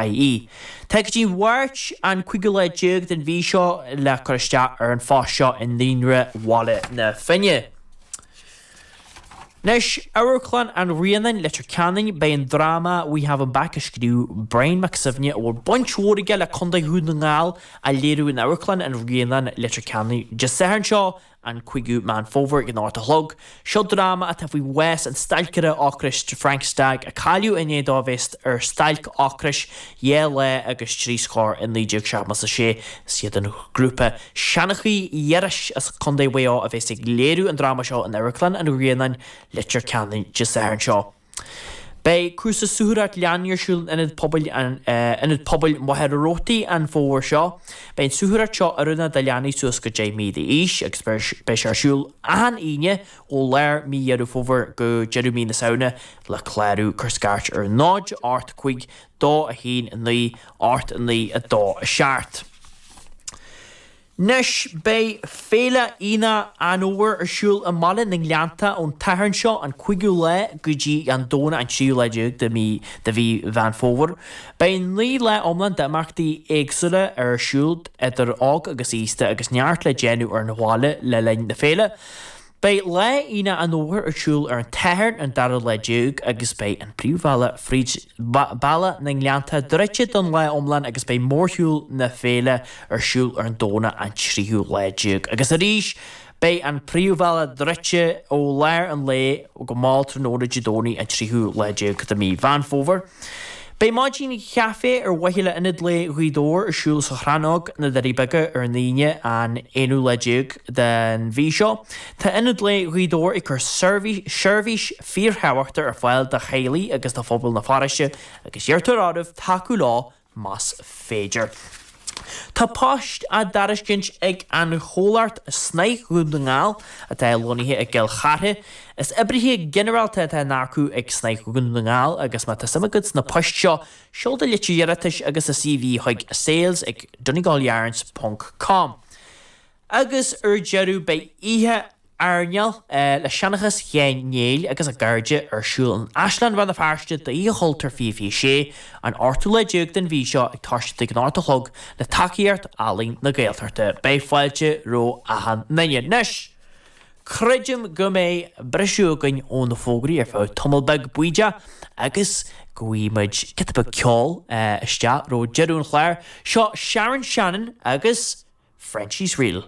IE. Tá go dtí an Mháirt an cúigiú lá déag den mhí seo le cur isteach ar an phost seo i Naíonra Bhaile na Finne. Anois, Amharclann an Ghrianáin, Leitir Ceanainn, beidh an dráma We Have Him Back a scríobh Brian Mac Suibhne, a bhfuil baint mhór aige le Contae Dhún na nGall, á léiriú in Amharclann an Ghrianáin, Leitir Ceanainn, Dé Sathairn seo, an 5ú Meán Fómhair ag an 8 a chlog. Seo dráma atá faoi bhás an stailceora ocrais Frank Stagg a cailleadh i ndiaidh dó a bheith ar stailc ocrais 2 lá agus 3 scór i 1976. Is iad an grúpa Seanchaí Iorrais as Contae Mhaigh Eo a bheas ag léiriú an dráma seo in Amharclann an Ghrianáin, Leitir Ceanainn, Dé Sathairn seo. Beidh cúrsa suathaireacht leanaí ar siúl in Ionad Pobail Ionad Pobail Mhachaire Rabhartaigh an fómhar seo. Beidh an suathaireacht seo oiriúnach do leanaí suas go 10 mí d'aois agus beidh sé ar siúl achan Aoine ó lár mí Dheireadh Fómhair go deireadh mí na Samhna. Le clárú, cuir scairt ar 0 8 5 2 1 9 8 9 2 7. Anois, beidh Féile Aonach an Fhómhair ar siúl i mBaile na nGleannta ón tSatharn seo, an 5ú lá, go dtí an Domhnach an 3ú lá déag de mhí de mhí Mheán Fómhair. Beidh 9 lá iomlán d'imeachtaí éagsúla ar siúl idir óg agus aosta agus neart le déanamh ar an bhaile le linn na féile. Beidh Lá Aonach an Fhómhair ar siúl ar an tSatharn an dara lá déag agus beidh an príomhbhealach fríd Baile na nGleannta druidte don lá iomlán agus beidh mórshiúl na féile ar siúl ar an Domhnach an tríú lá déag. Agus arís beidh an príomhbhealach druidte ó lár an lae go mall tráthnóna Dé Domhnaigh an tríú lá déag de mí Mheán Fómhair. Beidh maidin chaife ar mhaithe le Ionad Lae Ghaoth Dobhair ar siúl sa Chrannóg, na Doirí Beaga ar an Aoine an aonú lá déag den mhí seo. Tá Ionad Lae Ghaoth Dobhair ag cur seirbhís fíorthábhachtach ar fáil do theaghlaigh agus do phobal na paróiste agus iarrtar oraibh tacú leo más féidir. Tá poist á dtairiscint ag an chomhlacht Snáth Dhún na nGall, atá lonnaithe i gCill Chartha. Is oibrithe ginearálta atá á n-earcú ag Snáth Dhún na nGall agus má tá suim agat sna poist seo, seol do litir iarratais agus do CV chuig sales ag donegalyarns ponc com. Agus ar deireadh beidh oíche airneáil le Seanchas Sheáin Néill agus a gcairde ar siúl in Áislann Rann na Feirste d'Oíche Chultúir 2026, an ochtú lá déag den mhí seo ag toiseacht ag an 8 a chlog le tacaíocht Ealaín na Gaeltachta. Beidh fáilte roimh achan nduine. Anois, creidim go mbeidh briseadh againn ó na fógraí ar feadh tamall beag bídeach agus go bhfaighidh muid giota beag ceoil isteach roimh deireadh an chláir. Seo Sharon Shannon agus Frenchie's Reel.